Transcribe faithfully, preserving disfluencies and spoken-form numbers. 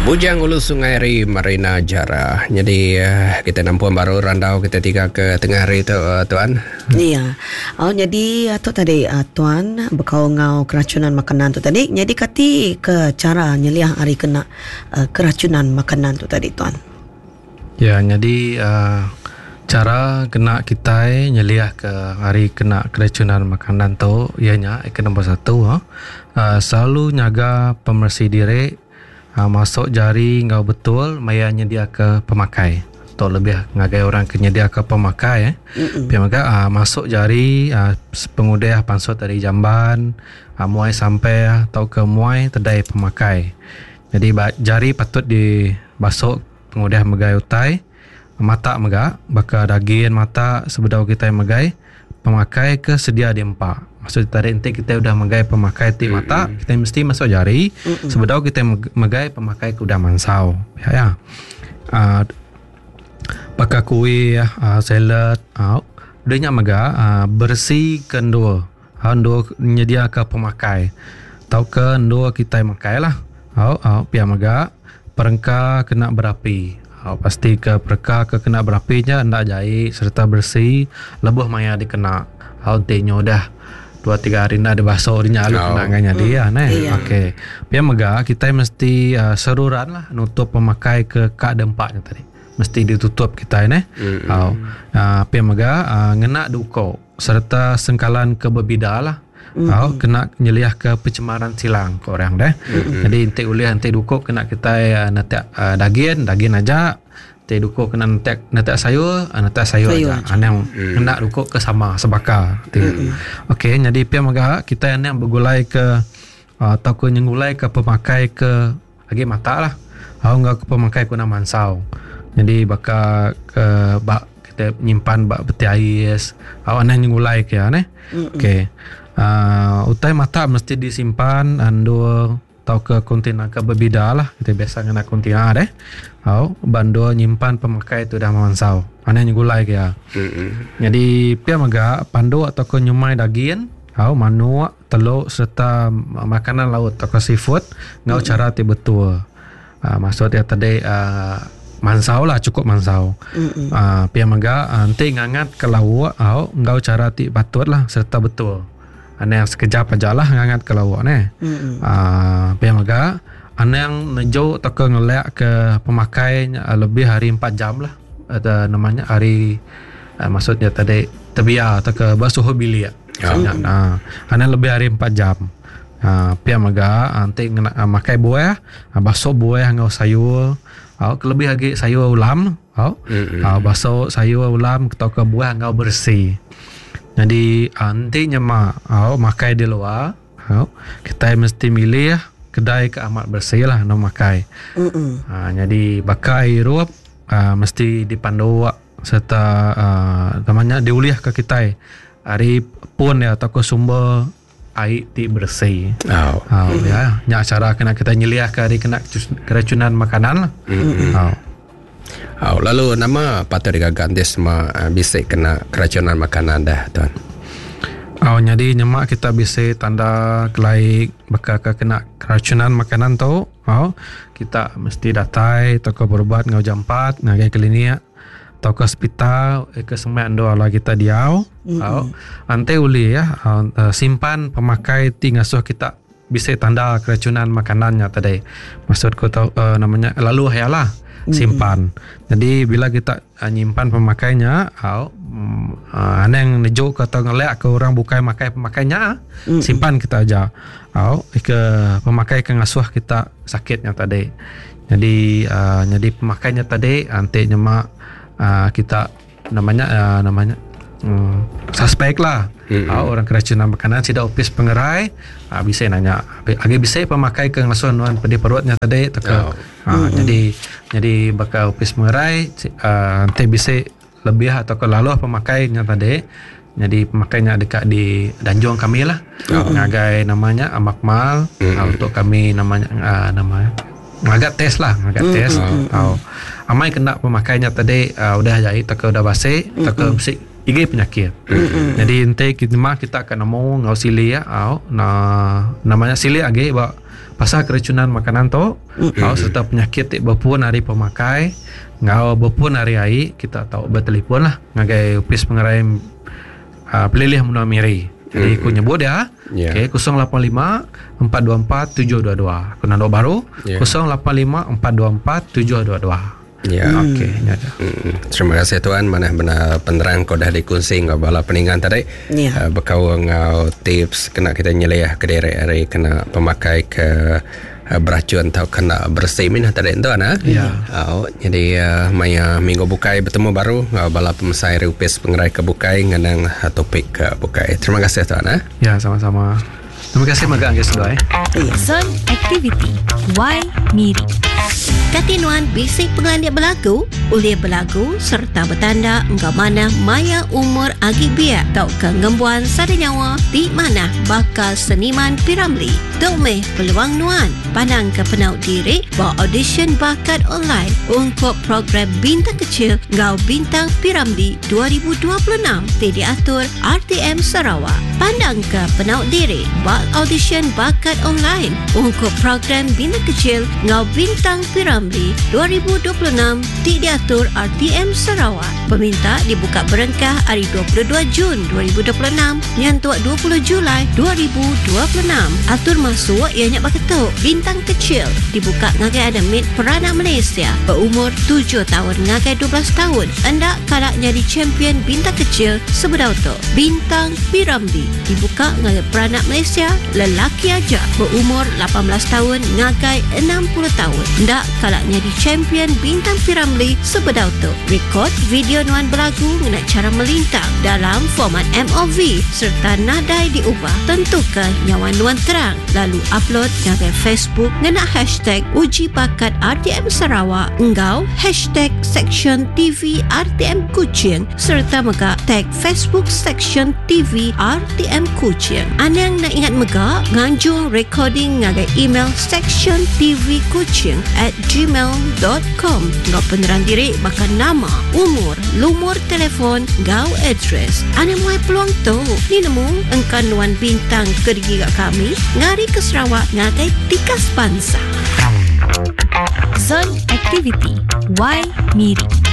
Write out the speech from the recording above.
Bujang Ulu Sungai Ri Marina Jara. Jadi kita nampung baru randau kita tiga ke tengah hari tu tuan. Iya. Oh, jadi tu tadi tuan bekau ngau keracunan makanan tu tadi. Jadi kati ke cara nyeliah hari kena uh, keracunan makanan tu tadi tuan. Ya, jadi uh, cara kena kita nyeliah ke hari kena keracunan makanan tu ianya ke nombor satu uh, selalu nyaga pemersi diri. Uh, masuk jari ngau betul maya nyedia ke pemakai. Tu lebih ngagai orang ke nyedia ke pemakai eh. Pia mega uh, masuk jari uh, pengudah pansut dari jamban, uh, muai sampai atau ke muai tedai pemakai. Jadi jari patut dibasuh pengudah megai utai, mata mega baka daging mata sebedau kita megai pemakai ke sedia diempak. Maksud tadi nanti kita udah megai pemakai ti mata, mm-hmm. kita mesti masuk jari mm-hmm. sebedau kita megai pemakai ke udah mansau. Ya ya. Uh, baka kuih, uh, salad, uh, udahnya mega uh, bersih kendua. Uh, ndua nyedia ke pemakai. Tau ke ndua kita makai lah. Uh, uh, pia mega perengka kena berapi. Uh, pasti ke perengka ke kena berapinya ndak jai serta bersih lebuh maya dikena. Uh, nanti dah dua tiga hari nak dibasuh dia lalu oh. kena nganya dia mm. neh. Iya. Okey. Pia mega kita mesti uh, seruran lah nutup pemakai ke kak dempaknya tadi. Mesti ditutup kita neh. Mm. Oh. Uh, pia mega uh, ngena duko serta sengkalan ke berbida lah. Mm. Oh, kena nyeliah ke pencemaran silang ke orang deh. Mm. Jadi entik ulih entik duko kena kita uh, netek uh, daging, daging aja. Entik duko kena netek netek sayur, netek sayur, sayur aja. Anang mm. kena duko ke sama sebaka. Mm. Okey, jadi pia mega kita anang bergulai ke uh, atau ke nyengulai ke pemakai ke lagi mata lah. Au enggak ke pemakai kuna mansau. Jadi baka ke bak kita nyimpan bak peti ais. Au anang nyengulai ke ya neh. Okey. Uh, utai mata mesti disimpan andur atau ke kontainer ke berbeda lah. Kita biasa ngena kontainer deh. Au bando nyimpan pemakai tu dah mansau. Aneh nyegulai ke ya. Mm-hmm. Jadi pia mega pandu atau ke nyumai daging, au manuk, telur serta makanan laut atau ke seafood ngau mm-hmm. cara ti betul. Uh, maksud dia tadi uh, mansau lah, cukup mansau. Mm-hmm. Uh, pia mega nanti ngangat ke lauk au ngau cara ti patut lah serta betul. Aneh yang sekejap aja lah ngangat ke lauk ni. Mm-hmm. Uh, pia mega aneh yang nejo atau ke ngelak ke pemakai lebih hari empat jam lah. Atau namanya hari uh, maksudnya tadi tebiar atau ke basuh bilik. Ya. Mm-hmm. Uh, aneh lebih hari empat jam. Uh, pia mega nanti ngena uh, makai buah, uh, basuh buah ngau sayur. Uh, kelebih lagi sayur ulam, uh, mm-hmm. uh, basuh sayur ulam atau ke buah ngau bersih. Jadi nanti nyemak oh, makai di luar, oh, kita mesti milih kedai ke amat bersih lah nak makai. Ha, jadi bakai hirup uh, mesti dipandu serta uh, namanya diuliah ke kita hari pun ya atau ke sumber air ti bersih. Oh. Oh, ya, nyak cara kena kita nyeliah ke hari kena keracunan makanan lah. Mm-mm. Oh. Oh, lalu nama patut digaga nanti semua uh, bisik kena keracunan makanan dah tuan. Oh, jadi nyemak kita bisa tanda kelaik bakal ke kena keracunan makanan tu. Oh, kita mesti datai atau ke berubat ngau jam empat ngagai klinik atau ke hospital ke semua ando ala kita diau. Mm-hmm. Oh, ante uli ya uh, simpan pemakai ti ngasuh kita bisa tanda keracunan makanannya tadi. Maksudku tau uh, namanya lalu hayalah simpan. Mm-hmm. Jadi bila kita uh, nyimpan pemakainya, uh, uh, aneng nejuk atau ngelak ke orang bukai makai pemakainya, mm-hmm. simpan kita aja. Uh, ke pemakai ke ngasuh kita sakitnya tadi. Jadi uh, jadi pemakainya tadi nanti nyemak uh, kita namanya uh, namanya um, suspek lah. Mm-hmm. Uh, orang keracunan makanan tidak opis pengerai, uh, bisa nanya. Agi bisa pemakai ke ngasuh nuan pedih perutnya tadi atau ke Oh. uh, Mm-hmm. jadi jadi bakal opis pengerai uh, nanti bisa lebih atau ke lalu pemakainya tadi. Jadi pemakainya dekat di Danjong kami lah. Oh. Ngagai namanya Amakmal Mm-hmm. uh, untuk kami namanya uh, namanya ngagak tes lah, ngagak Mm-hmm. tes. Oh. Amai kena pemakainya tadi uh, udah jahit atau ke udah basik atau ke besi igi penyakit. Mm-hmm. Jadi nanti kita mah kita akan nemu ngau sili ya, au na namanya sili agi ba pasal keracunan makanan tu mm-hmm. Au serta penyakit ti berpun hari pemakai ngau berpun hari ai kita tahu bertelefon lah ngagai Opis Pengerai uh, Pelilih Menua Miri. Jadi aku nyebut ya. Ya. Okey, kosong lapan lima empat dua empat tujuh dua dua. Aku nanda baru Ya. kosong lapan lima empat dua empat tujuh dua dua. Ya. Okey, nya dah. Mm, Terima kasih tuan, mana benar penerang kau dah dikongsi ngau bala peninggan tadi. Ya. Uh, berkau ngau tips kena kita nyeliah ke diri hari kena pemakai ke uh, beracun atau kena bersih minah tadi tuan ah. Ya. Oh, jadi uh, maya minggu bukai bertemu baru ngau bala pemesai Opis Pengerai ke bukai ngenang uh, topik ke bukai. Terima kasih tuan ah. Ya, sama-sama. Terima kasih magang guys dua eh. Ya. Zon Aktiviti Y Miri. Katinuan bisik pengelandik berlagu, oleh berlagu serta bertanda engkau mana maya umur agi biak tau ke ngembuan sada nyawa di mana bakal seniman Piramli. Tok meh peluang nuan pandang ke penau diri bawa audition bakat online untuk program Bintang Kecil Ngau Bintang Piramli dua ribu dua puluh enam ti diatur R T M Sarawak. Pandang ke penau diri bawa audition bakat online untuk program Bintang Kecil Ngau Bintang Piramli dua ribu dua puluh enam ti diatur R T M Sarawak. Peminta dibuka berengkah hari dua puluh dua Jun dua ribu dua puluh enam nyentuk dua puluh Julai dua ribu dua puluh enam. Atur masuk ianya baketuk Bintang Kecil dibuka ngagai ada mid peranak Malaysia berumur tujuh tahun ngagai dua belas tahun. Endak kalak jadi champion Bintang Kecil sebedau tu. Bintang Piramli dibuka ngagai peranak Malaysia lelaki aja berumur lapan belas tahun ngagai enam puluh tahun. Endak kalak jadi champion Bintang Piramli sebedau tu. Rekod video nuan berlagu ngena cara melintang dalam format M O V serta nadai diubah. Tentukan nyawa nuan terang lalu upload ngagai Facebook ngena hashtag uji bakat R T M Sarawak engau hashtag section T V R T M Kuching serta mega tag Facebook section T V R T M Kuching. Anang nak ingat mega nganjung recording ngagai email section T V Kuching at gmail dot com. Ngau penerang diri bakal nama, umur, lumur telefon, gau address. Anang muai peluang tu. Ni nemu engkan nuan bintang kerja kat kami ngari ke Sarawak ngagai tikas bangsa. Zon Aktiviti Y Miri.